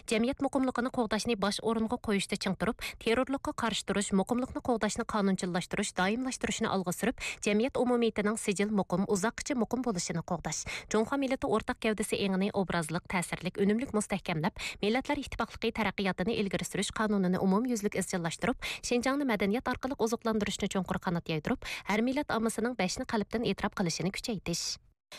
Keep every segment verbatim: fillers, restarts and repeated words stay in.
جەمئىيەت مۇقىملىقىنى قوغداشنى باش ئورۇنغا قويۇشتا چىڭ تۇرۇپ، تېررورلۇققا قارشى تۇرۇش، مۇقىملىقنى قوغداشنى قانۇنچىللاشتۇرۇش، دائىملاشتۇرۇشنى ئالغا سۈرۈپ، جەمئىيەت ئومۇمىيىتىنىڭ سىجىل مۇقىم، ئۇزاققىچە مۇقىم بولۇشىنى قوغداش، جۇڭخۇا مىللىتى ئورتاق گەۋدىسى ئېڭىنى ئوبرازلىق، تەسىرلىك، ئۈنۈملۈك مۇستەھكەملەپ، مىللەتلەر ئىتتىپاقلىقى تەرەققىياتىنى ئىلگىرى سۈرۈش قانۇنىنى ئومۇميۈزلۈك ئىزچىللاشتۇرۇپ، شىنجاڭنى مەدەنىيەت ئارقىلىق ئوزۇقلاندۇرۇشنى چوڭقۇر قانات يايدۇرۇپ، ھەر مىللەت ئاممىسىنىڭ بەشنى قەلبتىن ئېتىراپ قىلىشىنى كۈچەيتىش.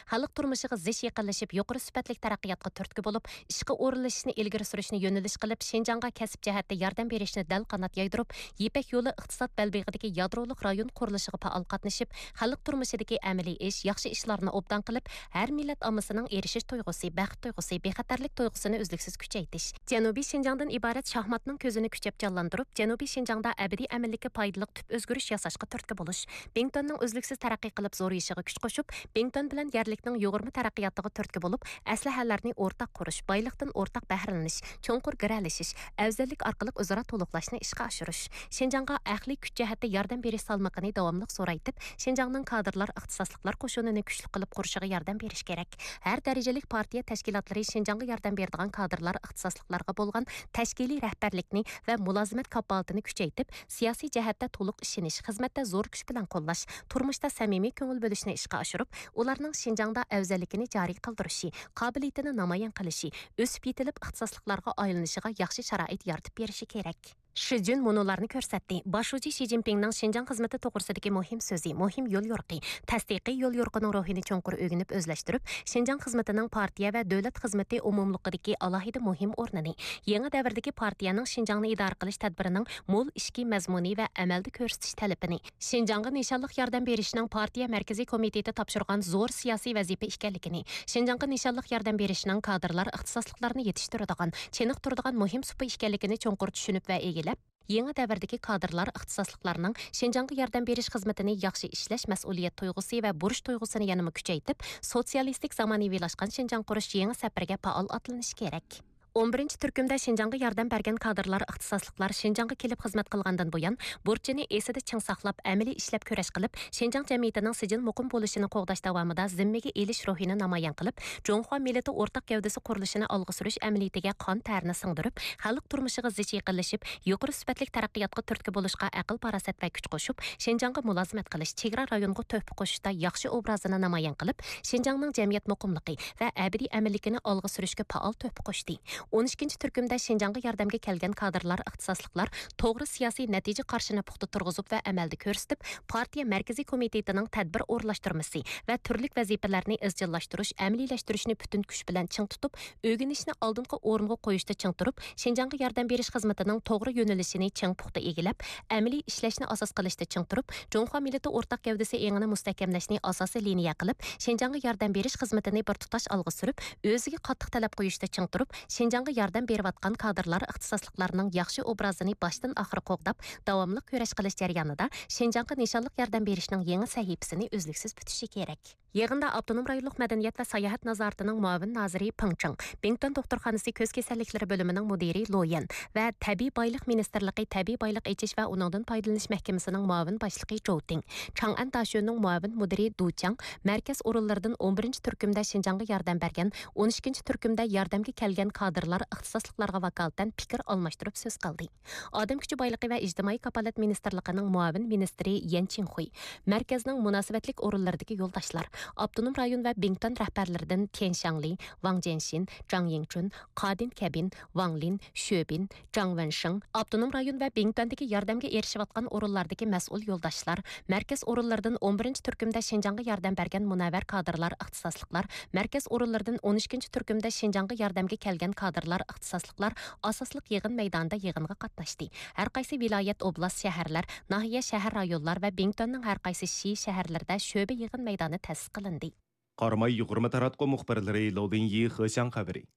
خەلق تۇرمۇشىغا زىچ يېقىنلىشىپ، يۇقىرى سۈپەتلىك تەرەققىياتقا تۈرتكە بولۇپ، ئىشقا ئورۇنلىشىشنى ئىلگىرى سۈرۈشنى يۆنىلىش قىلىپ، شىنجاڭغا كەسىپ جەھەتتە ياردەم بېرىشنى دەل قانات يايدۇرۇپ، يىپەك يولى ئىقتىساد بەلبېغىدىكى يادرولۇق رايون قۇرۇلۇشىغا پائال قاتنىشىپ، خەلق تۇرمۇشىدىكى ئەمەلىي ئىش، ياخشى ئىشلارنى ئوبدان قىلىپ، ھەر مىللەت ئاممىسىنىڭ ئېرىشىش تۇيغۇسى، بەخت تۇيغۇسى، بىخەتەرلىك تۇيغۇسىنى ئۈزلۈكسىز كۈچەيتىش. جەنۇبىي شىنجاڭدىن ئىبارەت شاھماتنىڭ كۆزىنى كۈچەپ جانلاندۇرۇپ، جەنۇبىي شىنجاڭدا ئەبەدىي ئەمىنلىككە پايدىلىق تۈپ ئۆزگىرىش ياساشقا تۈرتكە بولۇش، بىڭتۈەننىڭ ئۈزلۈكسىز تەرەققىي قىلىپ زورىيىشىغا كۈچ قوشۇپ، بىڭتۈەن بىلەن يەرلىكنىڭ يۇغۇرما تەرەققىياتىغا تۈرتكە بولۇپ، ئەسلىھەلەرنى ئورتاق قۇرۇش، بايلىقتىن ئورتاق بەھرىلىنىش، چوڭقۇر گىرەلىشىش، ئەۋزەللىك ئارقىلىق ئۆزئارا تولۇقلاشنى ئىشقا ئاشۇرۇش، شىنجاڭغا ئەقلىي كۈچ جەھەتتە ياردەم بېرىش سالمىقىنى داۋاملىق زورايتىپ، شىنجاڭنىڭ كادىرلار ئىختىساسلىقلار قوشۇنىنى كۈچلۈك قىلىپ قۇرۇشىغا ياردەم بېرىش كېرەك. ھەر دەرىجىلىك پارتىيە تەشكىلاتلىرى شىنجاڭغا ياردەم بېرىدىغان كادىرلار ئىختىساسلىقلارغا بولغان تەشكىلىي رەھبەرلىكنى ۋە مۇلازىمەت كاپالىتىنى كۈچەيتىپ، سىياسىي جەھەتتە تولۇق ئىشىنىش، خىزمەتتە زور كۈچ بىلەن قوللاش، تۇرمۇشتا سەمىمىي كۆڭۈل بۆلۈشنى ئىشقا ئاشۇرۇپ، ئۇلارنىڭ شىنجاڭدا ئەۋزەللىكىنى جارى قىلدۇرۇشى، قابىلىيىتىنى نامايان قىلىشى، ئۆسۈپ يېتىلىپ ئىختىساسلىقلارغا ئايلىنىشىغا ياخشى شارائىت يارىتىپ بېرىشى كېرەك. شى جۈن مۇنۇلارنى كۆرسەتتى. باش شۇجى شى جىنپىڭنىڭ شىنجاڭ خىزمىتى توغرىسىدىكى مۇھىم سۆزى، مۇھىم يوليورۇقى، تەستىقىي يوليورۇقىنىڭ روھىنى چوڭقۇر ئۆگىنىپ ئۆزلەشتۈرۈپ، شىنجاڭ خىزمىتىنىڭ پارتىيە ۋە دۆلەت خىزمىتى ئومۇملۇقىدىكى ئالاھىدە مۇھىم ئورنىنى، يېڭى دەۋردىكى پارتىيەنىڭ شىنجاڭنى ئىدارە قىلىش تەدبىرىنىڭ مول ئىچكى مەزمۇنى ۋە ئەمەلدە كۆرسىتىش تەلىپىنى، شىنجاڭغا نىشانلىق ياردەم بېرىشنىڭ پارتىيە مەركىزىي كومىتېتى تاپشۇرغان زور سىياسىي ۋەزىپە ئىكەنلىكىنى، شىنجاڭغا نىشانلىق ياردەم بېرىشنىڭ كادىرلار ئىختىساسلىقلارنى يېتىشتۈرىدىغان، چېنىقتۇرىدىغان مۇھىم سۇپا ئىكەنلىكىنى چوڭقۇر چۈشىنىپ ۋە ئىگىلەپ، يېڭى دەۋردىكى كادىرلار ئىختىساسلىقلارنىڭ شىنجاڭغا ياردەم بېرىش خىزمىتىنى ياخشى ئىشلەش مەسئۇلىيەت تۇيغۇسى ۋە بۇرچ تۇيغۇسىنى يەنىمۇ كۈچەيتىپ، سوتسىيالىستىك زامانىۋىلاشقان شىنجاڭ قۇرۇش يېڭى سەپىرىگە پائال ئاتلىنىشى كېرەك. ئون بىرىنچى تۈركۈمدە شىنجاڭغا ياردەم بەرگەن كادىرلار، ئىختىساسلىقلار شىنجاڭغا كېلىپ خىزمەت قىلغاندىن بۇيان، بۇرچىنى ئېسىدە چىڭ ساقلاپ، ئەمەلىي ئىشلەپ كۈرەش قىلىپ، شىنجاڭ جەمئىيىتىنىڭ سىجىل مۇقىم بولۇشىنى قوغداش داۋامىدا زىممىگە ئېلىش روھىنى نامايان قىلىپ، جۇڭخۇا مىللىتى ئورتاق گەۋدىسى قۇرۇلۇشىنى ئالغا سۈرۈش ئەمەلىيىتىگە قان تەرىنى سىڭدۈرۈپ، خەلق تۇرمۇشىغا زىچ يېقىنلىشىپ، يۇقىرى سۈپەتلىك تەرەققىياتقا تۈرتكە بولۇشقا ئەقىل-پاراسەت ۋە كۈچ قوشۇپ، شىنجاڭغا مۇلازىمەت قىلىش، چېگرا رايونغا تۆھپە قوشۇشتا ياخشى ئوبرازىنى نامايان قىلىپ، شىنجاڭنىڭ جەمئىيەت مۇقىملىقى ۋە ئەبەدىي ئەمىنلىكىنى ئالغا سۈرۈشكە پائال تۆھپە قوشتى. ئون ئىككىنچى تۈركۈمدە شىنجاڭغا ياردەمگە كەلگەن كادىرلار، ئىختىساسلىقلار توغرا سىياسىي نەتىجە قارىشىنى پۇختا تۇرغۇزۇپ ۋە ئەمەلدە كۆرسىتىپ، پارتىيە مەركىزىي كومىتېتىنىڭ تەدبىر ئورۇنلاشتۇرمىسى ۋە تۈرلۈك ۋەزىپىلەرنى ئىزچىللاشتۇرۇش، ئەمەلىيلەشتۈرۈشنى پۈتۈن كۈچ بىلەن چىڭ تۇتۇپ، ئۆگىنىشنى ئالدىنقى ئورۇنغا قويۇشتا چىڭ تۇرۇپ، شىنجاڭغا ياردەم بېرىش خىزمىتىنىڭ توغرا يۆنىلىشىنى چىڭ پۇختا ئىگىلەپ، ئەمەلىي ئىشلەشنى ئاساس قىلىشتا چىڭ تۇرۇپ، جۇڭخۇا مىللىتى ئورتاق گەۋدىسى ئېڭىنى مۇستەھكەملەشنى ئاساسىي لىنىيە قىلىپ، شىنجاڭغا ياردەم بېرىش خىزمىتىنى بىر تۇتاش ئالغا سۈرۈپ، ئۆزىگە قاتتىق تەلەپ قويۇشتا چىڭ تۇرۇپ، شىنجاڭغا ياردەم بېرىۋاتقان كادىرلار، ئىختىساسلىقلارنىڭ ياخشى ئوبرازىنى باشتىن ئاخىر قوغداپ، داۋاملىق كۈرەش قىلىش جەريانىدا شىنجاڭغا نىشانلىق ياردەم بېرىشنىڭ يېڭى سەھىپىسىنى ئۈزلۈكسىز پۈتۈشى كېرەك. يىغىندا ئاپتونوم رايونلۇق مەدەنىيەت ۋە ساياھەت نازارىتىنىڭ مۇئاۋىن نازىرى پېڭ چېڭ، بىڭتۈەن دوختۇرخانىسى كۆز كېسەللىكلىرى بۆلۈمىنىڭ مۇدىرى لو يەن ۋە تەبىئىي بايلىق مىنىستىرلىقى تەبىئىي بايلىق ئېچىش ۋە ئۇنىڭدىن پايدىلىنىش مەھكىمىسىنىڭ مۇئاۋىن باشلىقى جوۋ تىڭ، چاڭئەن داشۆنىڭ مۇئاۋىن مۇدىرى دۇ چياڭ، مەركەز ئورۇنلىرىدىن ئون بىرىنچى تۈركۈمدە شىنجاڭغا ياردەم بەرگەن، ئون ئىككىنچى تۈركۈمدە ياردەمگە كەلگەن كادىرلار ئىختىساسلىقلارغا ۋاكالىتەن پىكىر ئالماشتۇرۇپ سۆز قىلدى. ئادەم كۈچى بايلىقى ۋە ئىجتىمائىي كاپالەت مىنىستىرلىقىنىڭ مۇئاۋىن مىنىستىرى يەن چىڭخۇي، مەركەزنىڭ مۇناسىۋەتلىك ئورۇنلىرىدىكى يولداشلار، ئاپتونوم رايون ۋە بىڭتۈەن رەھبەرلىرىدىن تيەن شياڭلى، ۋاڭ جيەنشىن، جاڭ يىڭچۈن، قادىن كەبىن، ۋاڭ لىن، شۆبىن، جاڭ ۋېنشىڭ، ئاپتونوم رايون ۋە بىڭتۈەندىكى ياردەمگە ئېرىشىۋاتقان ئورۇنلاردىكى مەسئۇل يولداشلار، مەركەز ئورۇنلىرىدىن ئون بىرىنچى تۈركۈمدە شىنجاڭغا ياردەم بەرگەن مۇنەۋۋەر كادىرلار، ئىختىساسلىقلار، مەركەز ئورۇنلىرىدىن ئون ئىككىنچى تۈركۈمدە شىنجاڭغا ياردەمگە كەلگەن كادىرلار، ئىختىساسلىقلار ئاساسلىق يىغىن مەيدانىدا يىغىنغا قاتناشتى. ھەر قايسى ۋىلايەت، ئوبلاست، شەھەرلەر، ناھىيە، شەھەر، رايونلار ۋە بىڭتۈەننىڭ ھەر قايسى شى، شەھەرلىرىدە شۆبە يىغىن مەيدانى تەسىس قىلىندى. قاراماي يۇغۇرما تاراتقۇ مۇخبىرلىرى لو لىنيى، خې شياڭ خەۋىرى.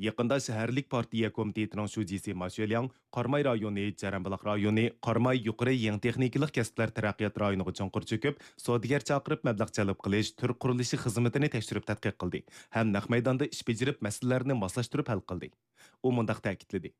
يېقىندا شەھەرلىك پارتىيە كومىتېتىنىڭ شۇجىسى ما شۆلياڭ قاراماي رايونى، جەرەنبۇلاق رايونى، قاراماي يۇقىرى يېڭى تېخنىكىلىق كەسىپلەر تەرەققىيات رايونىغا چوڭقۇر چۆكۈپ، سودىگەر چاقىرىپ مەبلەغ جەلپ قىلىش، تۈر قۇرۇلۇشى خىزمىتىنى تەكشۈرۈپ تەتقىق قىلدى ھەم نەق مەيداندا ئىش بېجىرىپ، مەسىلىلەرنى ماسلاشتۇرۇپ ھەل قىلدى. ئۇ مۇنداق تەكىتلىدى: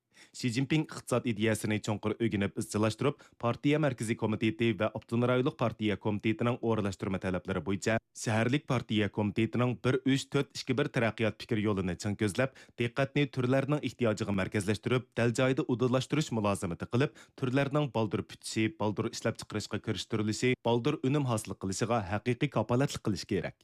شى جىنپىڭ ئىقتىساد ئىدىيەسىنى چوڭقۇر ئۆگىنىپ ئىزچىللاشتۇرۇپ، پارتىيە مەركىزىي كومىتېتى ۋە ئاپتونوم رايونلۇق پارتىيە كومىتېتىنىڭ ئورۇنلاشتۇرما تەلەپلىرى بويىچە شەھەرلىك پارتىيە كومىتېتىنىڭ بىر ئۈچ تۆت ئىككى بىر تەرەققىيات پىكىر يولىنى چىڭ كۆزلەپ، دىققەتنى تۈرلەرنىڭ ئېھتىياجىغا مەركەزلەشتۈرۈپ، دەل جايىدا ئۇدۇللاشتۇرۇش مۇلازىمىتى قىلىپ، تۈرلەرنىڭ بالدۇر پۈتۈشى، بالدۇر ئىشلەپچىقىرىشقا كىرىشتۈرۈلۈشى، بالدۇر ئۈنۈم ھاسىل قىلىشىغا ھەقىقىي كاپالەتلىك قىلىش كېرەك.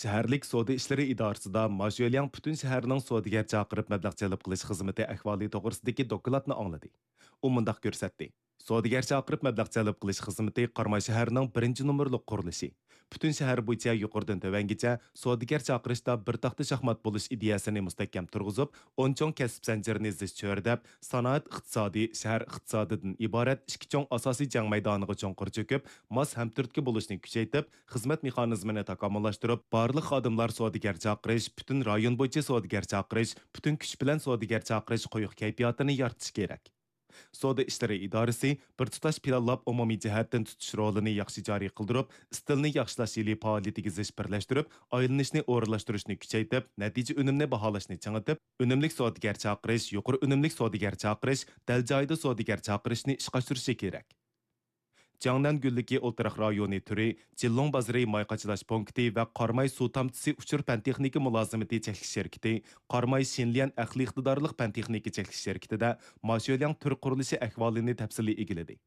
شەھەرلىك سودا ئىشلىرى ئىدارىسىدا ما شۆلياڭ پۈتۈن شەھەرنىڭ سودىگەر چاقىرىپ مەبلەغ جەلپ قىلىش خىزمىتى ئەھۋالى توغرىسىدىكى دوكلاتنى ئاڭلىدى. ئۇ مۇنداق كۆرسەتتى: سودىگەر چاقىرىپ مەبلەغ جەلپ قىلىش خىزمىتى قاراماي شەھىرىنىڭ بىرىنچى نومۇرلۇق قۇرۇلۇشى. پۈتۈن شەھەر بويىچە يۇقىرىدىن تۆۋەنگىچە سودىگەر چاقىرىشتا بىر تاختا شاھمات بولۇش ئىدىيەسىنى مۇستەھكەم تۇرغۇزۇپ، ئون چوڭ كەسىپ زەنجىرىنى زىچ چۆرىدەپ، سانائەت ئىقتىسادى، شەھەر ئىقتىسادىدىن ئىبارەت ئىككى چوڭ ئاساسىي جەڭ مەيدانىغا چوڭقۇر چۆكۈپ، ماس ھەمتۈرتكە بولۇشنى كۈچەيتىپ، خىزمەت مېخانىزمىنى تاكامۇللاشتۇرۇپ، بارلىق خادىملار سودىگەر چاقىرىش، پۈتۈن رايون بويىچە سودىگەر چاقىرىش، پۈتۈن كۈچ بىلەن سودىگەر چاقىرىش قويۇق كەيپىياتىنى يارىتىش كېرەك. سودا ئىشلىرى ئىدارىسى بىر تۇتاش پىلانلاپ، ئومۇمىي جەھەتتىن تۇتۇش رولىنى ياخشى جارى قىلدۇرۇپ، ئىستىلنى ياخشىلاش يىلى پائالىيىتىگە زىچ بىرلەشتۈرۈپ، ئايلىنىشنى ئورۇنلاشتۇرۇشنى كۈچەيتىپ، نەتىجە ئۈنۈمنى باھالاشنى چىڭىتىپ، ئۈنۈملۈك سودىگەر چاقىرىش، يۇقىرى ئۈنۈملۈك سودىگەر چاقىرىش، دەل جايىدا سودىگەر چاقىرىشنى ئىشقا ئاشۇرۇشى كېرەك. جياڭنەن گۈللۈكى ئولتۇراق رايونى تۈرى، جىنلۇڭ بازىرى ماي قاچىلاش پونكىتى ۋە قاراماي سۇ تامچىسى ئۇچۇر پەن تېخنىكا مۇلازىمىتى چەكلىك شىركىتى، قاراماي شىنليەن ئەقلىي ئىقتىدارلىق پەن تېخنىكا چەكلىك شىركىتىدە ما شۆلياڭ تۈر قۇرۇلۇشى ئەھۋالىنى تەپسىلىي ئىگىلىدى.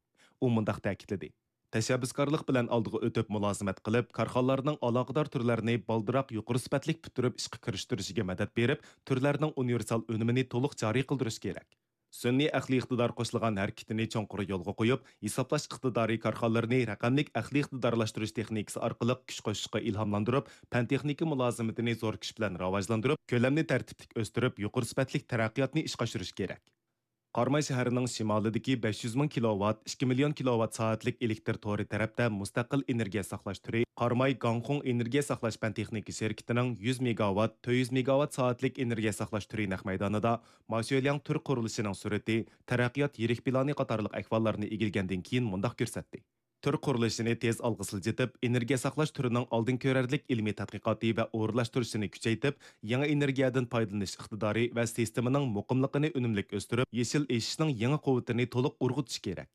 ئۇ مۇنداق تەكىتلىدى: تەشەببۇسكارلىق بىلەن ئالدىغا ئۆتۈپ مۇلازىمەت قىلىپ، كارخانىلارنىڭ ئالاقىدار تۈرلەرنى بالدۇرراق يۇقىرى سۈپەتلىك پۈتتۈرۈپ ئىشقا كىرىشتۈرۈشىگە مەدەت بېرىپ، تۈرلەرنىڭ ئۇنىۋېرسال ئۈنۈمىنى تولۇق جارى قىلدۇرۇش كېرەك. سۈنئىي ئەقلىي ئىقتىدار قوشۇلغان ھەرىكىتىنى چوڭقۇر يولغا قويۇپ، ھېسابلاش ئىقتىدارى كارخانىلىرىنى رەقەملىك ئەقلىي ئىقتىدارلاشتۇرۇش تېخنىكىسى ئارقىلىق كۈچ قوشۇشقا ئىلھاملاندۇرۇپ، پەن تېخنىكا مۇلازىمىتىنى زور كۈچ بىلەن راۋاجلاندۇرۇپ، كۆلەمنى تەرتىپلىك ئۆستۈرۈپ، يۇقىرى سۈپەتلىك تەرەققىياتنى ئىشقا ئاشۇرۇش كېرەك. قاراماي شەھىرىنىڭ شىمالىدىكى بەش يۈز مىڭ كىلوۋات، ئىككى مىليون كىلوۋات سائەتلىك ئېلېكتر تورى تەرەپتە مۇستەقىل ئېنېرگىيە ساقلاش تۈرى، قاراماي گاڭخۇڭ ئېنېرگىيە ساقلاش پەن تېخنىكا شىركىتىنىڭ يۈز مېگاۋات، تۆت يۈز مېگاۋات سائەتلىك ئېنېرگىيە ساقلاش تۈرى نەق مەيدانىدا ما شۆلياڭ تۈر قۇرۇلۇشىنىڭ سۈرئىتى، تەرەققىيات يىرىك پىلانى قاتارلىق ئەھۋاللارنى ئىگىلىگەندىن كېيىن مۇنداق كۆرسەتتى. تۈر قۇرۇلۇشىنى تېز ئالغا سىلجىتىپ، ئېنېرگىيە ساقلاش تۈرىنىڭ ئالدىن كۆرەرلىك ئىلمىي تەتقىقاتى ۋە ئورۇنلاشتۇرۇشىنى كۈچەيتىپ، يېڭى ئېنېرگىيەدىن پايدىلىنىش ئىقتىدارى ۋە سىستېمىنىڭ مۇقىملىقىنى ئۈنۈملۈك ئۆستۈرۈپ، يېشىل ئېشىشنىڭ يېڭى قۇۋۋىتىنى تولۇق ئۇرغۇتۇش كېرەك.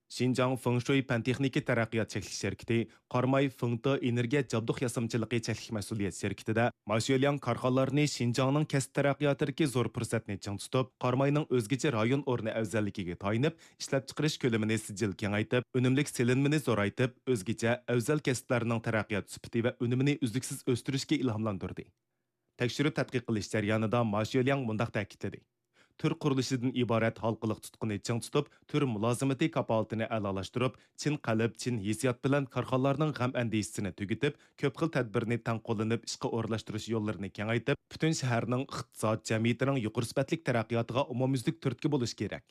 شىنجاڭ فېڭشۇي پەن تېخنىكا تەرەققىيات چەكلىك شىركىتى، قاراماي فېڭتې ئېنېرگىيە جابدۇق ياسامچىلىقى چەكلىك مەسئۇلىيەت شىركىتىدە ما شۆلياڭ كارخانىلارنى شىنجاڭنىڭ كەسىپ تەرەققىياتىدىكى زور پۇرسەتنى چىڭ تۇتۇپ، قاراماينىڭ ئۆزگىچە رايون ئورنى ئەۋزەللىكىگە تايىنىپ، ئىشلەپچىقىرىش كۆلىمىنى سىجىل كېڭەيتىپ، ئۈنۈملۈك سېلىنمىنى زورايتىپ، ئۆزگىچە ئەۋزەل كەسىپلەرنىڭ تەرەققىيات سۈپىتى ۋە ئۈنۈمىنى ئۈزلۈكسىز ئۆستۈرۈشكە ئىلھاملاندۇردى. تەكشۈرۈپ تەتقىق قىلىش جەريانىدا ما شۆلياڭ مۇنداق تەكىتلىدى: تۈر قۇرۇلۇشىدىن ئىبارەت ھالقىلىق تۇتقىنى چىڭ تۇتۇپ، تۈر مۇلازىمىتى كاپالىتىنى ئەلالاشتۇرۇپ، چىن قەلب، چىن ھېسسىيات بىلەن كارخانىلارنىڭ غەم ئەندىشىسىنى تۈگىتىپ، كۆپ خىل تەدبىرنى تەڭ قوللىنىپ ئىشقا ئورۇنلاشتۇرۇش يوللىرىنى كېڭەيتىپ، پۈتۈن شەھەرنىڭ ئىقتىساد، جەمئىيىتىنىڭ يۇقىرى سۈپەتلىك تەرەققىياتىغا ئومۇميۈزلۈك تۈرتكە بولۇش كېرەك.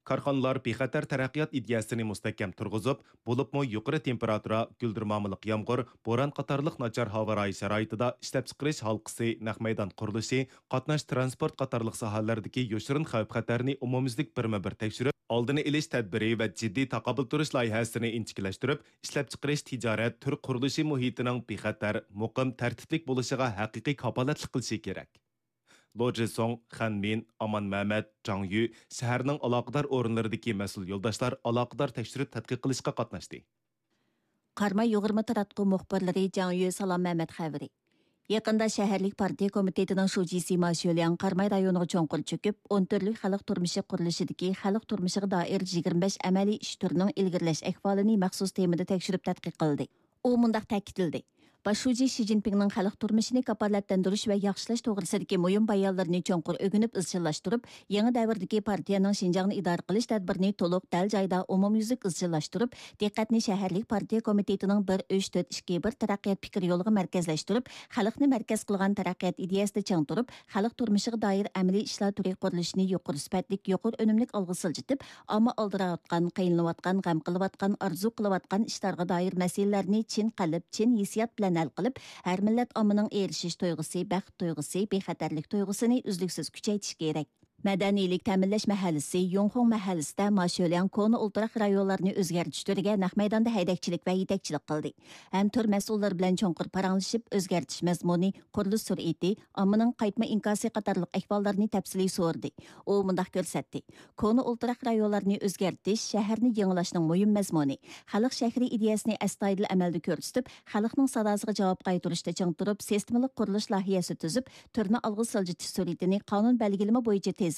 كارخانىلار بىخەتەر تەرەققىيات ئىدىيەسىنى مۇستەھكەم تۇرغۇزۇپ، بولۇپمۇ يۇقىرى تېمپېراتۇرا، گۈلدۈرمامىلىق يامغۇر، بوران قاتارلىق ناچار ھاۋا رايى شارائىتىدا ئىشلەپچىقىرىش ھالقىسى، نەق مەيدان قۇرۇلۇشى، قاتناش ترانسپورت قاتارلىق ساھەلەردىكى يوشۇرۇن خەۋپ-خەتەرنى ئومۇميۈزلۈك بىرمۇ بىر تەكشۈرۈپ، ئالدىنى ئېلىش تەدبىرى ۋە جىددىي تاقابىل تۇرۇش لايىھەسىنى ئىنچىكىلەشتۈرۈپ، ئىشلەپچىقىرىش، تىجارەت، تۈر قۇرۇلۇشى مۇھىتىنىڭ بىخەتەر، مۇقىم، تەرتىپلىك بولۇشىغا ھەقىقىي كاپالەتلىك قىلىشى كېرەك. لو جىسۇڭ، خەن مىن، ئامان مەمەت، جاڭ يۈ، شەھەرنىڭ ئالاقىدار ئورۇنلىرىدىكى مەسئۇل يولداشلار ئالاقىدار تەكشۈرۈپ تەتقىق قىلىشقا قاتناشتى. قاراماي يۇغۇرما تاراتقۇ مۇخبىرلىرى جاڭ يۈ، سالام مەمەت خەۋىرى. يېقىندا شەھەرلىك پارتىيە كومىتېتىنىڭ شۇجىسى ما شۆلياڭ قاراماي رايونىغا چوڭقۇر چۆكۈپ، ئون تۈرلۈك خەلق تۇرمۇشى قۇرۇلۇشىدىكى خەلق تۇرمۇشىغا دائىر يىگىرمە بەش ئەمەلىي ئىش تۈرىنىڭ ئىلگىرىلەش ئەھۋالىنى مەخسۇس تېمىدا تەكشۈرۈپ تەتقىق قىلدى. ئۇ مۇنداق تەكىتلىدى: باش شۇجى شى جىنپىڭنىڭ خەلق تۇرمۇشىنى كاپالەتلەندۈرۈش ۋە ياخشىلاش توغرىسىدىكى مۇھىم بايانلىرىنى چوڭقۇر ئۆگىنىپ ئىزچىللاشتۇرۇپ، يېڭى دەۋردىكى پارتىيەنىڭ شىنجاڭنى ئىدارە قىلىش تەدبىرىنى تولۇق، دەل جايىدا، ئومۇميۈزلۈك ئىزچىللاشتۇرۇپ، دىققەتنى شەھەرلىك پارتىيە كومىتېتىنىڭ بىر ئۈچ تۆت ئىككى بىر تەرەققىيات پىكىر يولىغا مەركەزلەشتۈرۈپ، خەلقنى مەركەز قىلغان تەرەققىيات ئىدىيەسىدە چىڭ تۇرۇپ، خەلق تۇرمۇشىغا دائىر ئەمەلىي ئىشلار تۈرى قۇرۇلۇشىنى يۇقىرى سۈپەتلىك، يۇقىرى ئۈنۈملۈك ئالغا سىلجىتىپ، ئامما ئالدىراۋاتقان، قىينىلىۋاتقان، غەم قىلىۋاتقان، ئارزۇ قىلىۋاتقان ئىشلارغا دائىر مەسىلىلەرنى چىن قەلب، چىن ھېسسىيات بىلەن ھەل قىلىپ، ھەر مىللەت ئاممىنىڭ ئېرىشىش تۇيغۇسى، بەخت تۇيغۇسى، بىخەتەرلىك تۇيغۇسىنى ئۈزلۈكسىز كۈچەيتىش كېرەك. مەدەنىيلىك تەمىنلەش مەھەللىسى يۇڭخۇڭ مەھەللىسىدە ما شۆلياڭ كونا ئولتۇراق رايونلارنى ئۆزگەرتىش تۈرىگە نەق مەيداندا ھەيدەكچىلىك ۋە يېتەكچىلىك قىلدى ھەم تۈر مەسئۇللىرى بىلەن چوڭقۇر پاراڭلىشىپ، ئۆزگەرتىش مەزمۇنى، قۇرۇلۇش سۈرئىتى، ئاممىنىڭ قايتما ئىنكاسى قاتارلىق ئەھۋاللارنى تەپسىلىي سورىدى. ئۇ مۇنداق كۆرسەتتى: كونا ئولتۇراق رايونلارنى ئۆزگەرتىش شەھەرنى يېڭىلاشنىڭ مۇھىم مەزمۇنى. خەلق شەھىرى ئىدىيەسىنى ئەستايىدىل ئەمەلدە كۆرسىتىپ، خەلقنىڭ ساداسىغا جاۋاب قايتۇرۇشتا چىڭ تۇرۇپ، سىستېمىلىق قۇرۇلۇش لايىھەسى تۈزۈپ، تۈرنى ئالغا سىلجىتىش سۈرئىتىنى قانۇن بەلگىلىمە بويىچە تېزلىتىپ،